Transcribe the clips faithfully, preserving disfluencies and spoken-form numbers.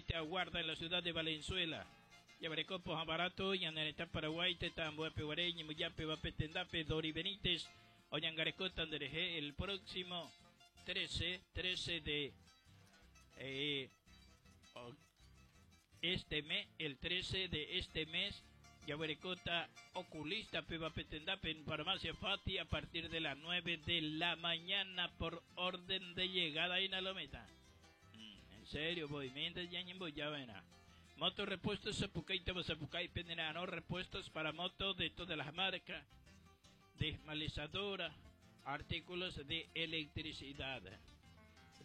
Te aguarda en la ciudad de Valenzuela. Yabareco, Barato, Yanareta, Paraguay, Tetambo, Peguaré, Ñemuyape, Bapetendape, Dori Benítez, Oñangareco, Tandereje, el próximo trece, trece de eh, este mes, el trece de este mes, Yabarecota, oculista, Pebapetendape, en Farmacia Fati, a partir de las nueve de la mañana por orden de llegada en Alometa. En serio, voy, mientras ya voy, ya ven. Moto repuestos Zapucay, Zapucay, Penderano, repuestos para moto de todas las marcas, desmalizadora, artículos de electricidad.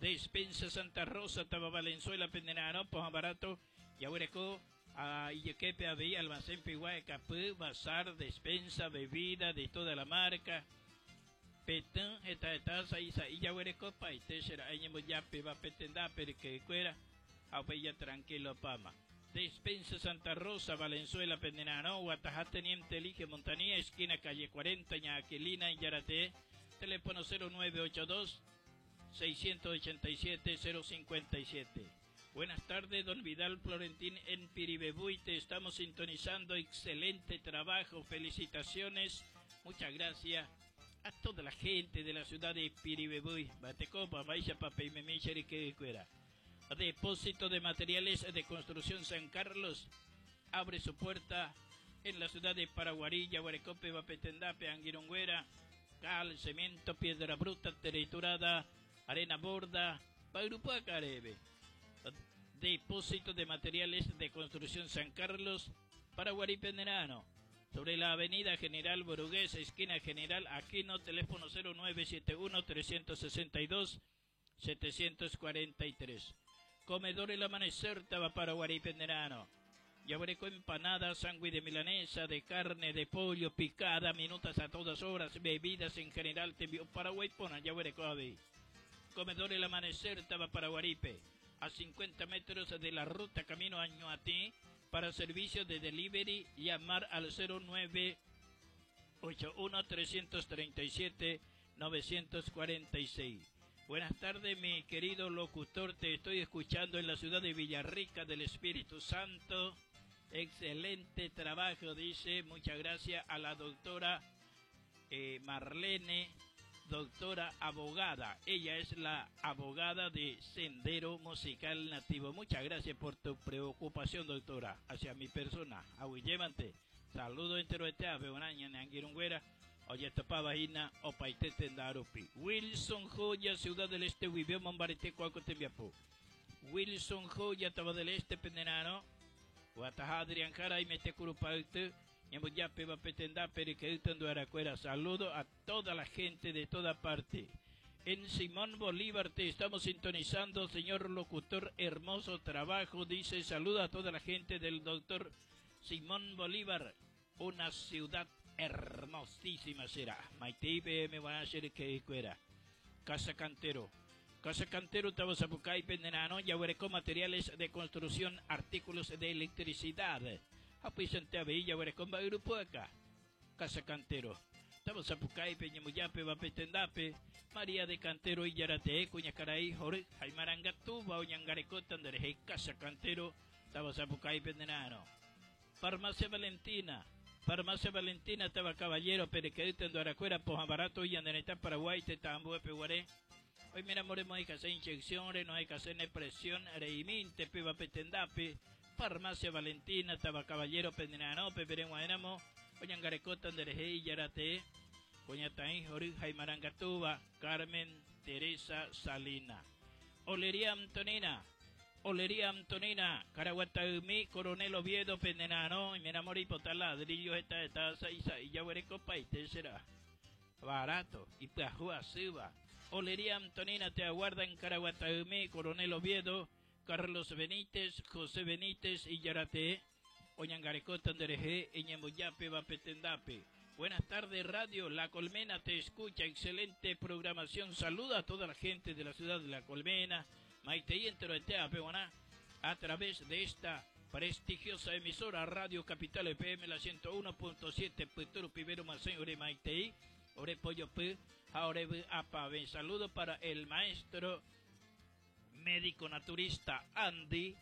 Despensa Santa Rosa, Taba Valenzuela, Penderano, Poja Barato, Yahuereco, Ayequepe, Abí, Almacén, Piguay, Capú, Bazar, despensa, bebida de toda la marca. Petón, esta etaza, isa, y yahuereco, pa, y te será, yape, va, petenda, pero que cuera, ya tranquilo, pama. Despensa Santa Rosa, Valenzuela, Pendenano, Guatajá, Teniente Elige, Montanía, esquina calle cuarenta, Ñaquilina, Yarate, teléfono cero nueve ocho dos, seiscientos ochenta y siete, cero cincuenta y siete. Buenas tardes, don Vidal Florentín en Piribebuy, te estamos sintonizando, excelente trabajo, felicitaciones, muchas gracias a toda la gente de la ciudad de Piribebuy. Batecopa, Baixa, Pape y Memicheri, que cuera. Depósito de materiales de construcción San Carlos abre su puerta en la ciudad de Paraguarí, Yaguarecope, Bapetendape, Anguirungüera, cal, cemento, piedra bruta, triturada, arena borda, Pagrupa Carebe. Depósito de materiales de construcción San Carlos, Paraguarí, Penderano. Sobre la avenida General Borugués, esquina General Aquino, teléfono cero nueve siete uno, trescientos sesenta y dos, setecientos cuarenta y tres. Comedor El Amanecer, Paraguarí, Penderano. Yaguareco, empanada, sándwich de milanesa, de carne, de pollo, picada, minutas a todas horas, bebidas en general, te envió Paraguay, pona, Yaguareco, Avi. Comedor El Amanecer, Paraguaripe, a cincuenta metros de la ruta camino a Ñuatí. Para servicio de delivery, llamar al cero nueve ocho uno, trescientos treinta y siete, novecientos cuarenta y seis. Buenas tardes, mi querido locutor, te estoy escuchando en la ciudad de Villarrica del Espíritu Santo. Excelente trabajo, dice. Muchas gracias a la doctora, eh, Marlene, doctora abogada. Ella es la abogada de Sendero Musical Nativo. Muchas gracias por tu preocupación, doctora, hacia mi persona. Aguillévante. Saludo entero de Teabe, Onaña, Nanguirungüera. Oye, topaba Ina, Opaitete, Ndarupi. Wilson Joya, Ciudad del Este, Huibeo, Mombarete, Cuaco, Tembiapú. Wilson Joya, Taba del Este, Pendenano. Guatajá, Adrián Jara y Metecurupautu. Ñambuyape, Bapetendá, Periqueutando, Aracuera. Saludo a toda la gente de toda parte. En Simón Bolívar te estamos sintonizando, señor locutor, hermoso trabajo. Dice, saluda a toda la gente del doctor Simón Bolívar. Una ciudad hermosísima será. Maite I P M van a hacer que cuera. Casa Cantero. Casa Cantero, Tabazapucay, Pendenano, Yahuerecó, materiales de construcción, artículos de electricidad. Apisante Abella, Yahuerecó, grupo acá. Casa Cantero. Tabazapucay, Peñamuyape, Bapetendape, María de Cantero, Iyarate, Cuñacaraí, Jorge, Jaimarangatuba, Oñangareco, Tandereje, Casa Cantero, Tabazapucay, Pendenano. Farmacia Valentina. Farmacia Valentina, Taba Caballero, Perequedita, en Duaracuera, Poja Barato, y Andaneta, Paraguay, Tetambo, Peguaré. Hoy mira, moremos, hay que hacer inyección, no hay que hacer presión, reiminte, piba petendape. Farmacia Valentina, Taba Caballero, Pendenano, Peperenguaenamo, Oñangarecota, Andereje, y Yarate, Coñataí, Jorge, Jaimarangatuba, Carmen, Teresa, Salina. Olería Antonina. Olería Antonina, Caraguataumí, Coronel Oviedo, Pendenano, y me enamoré y botar ladrillos, esta, esta, esa, y ya veré copa, y te será barato, y pajúa, suba. Olería Antonina te aguarda en Caraguataumí, Coronel Oviedo, Carlos Benítez, José Benítez y Yarate, Oñangarecota, Anderejé, Eñemuyape, Bapetendape. Buenas tardes, Radio La Colmena te escucha, excelente programación. Saluda a toda la gente de la ciudad de La Colmena, Maite y entero de Tea, Peguaná, a través de esta prestigiosa emisora Radio Capital F M, la ciento uno punto siete, Puturu, Pibero, Macén, Ore, Maite, Ore, Pollo, P, Aore, B, Apa, B. Saludo para el maestro médico naturista Andy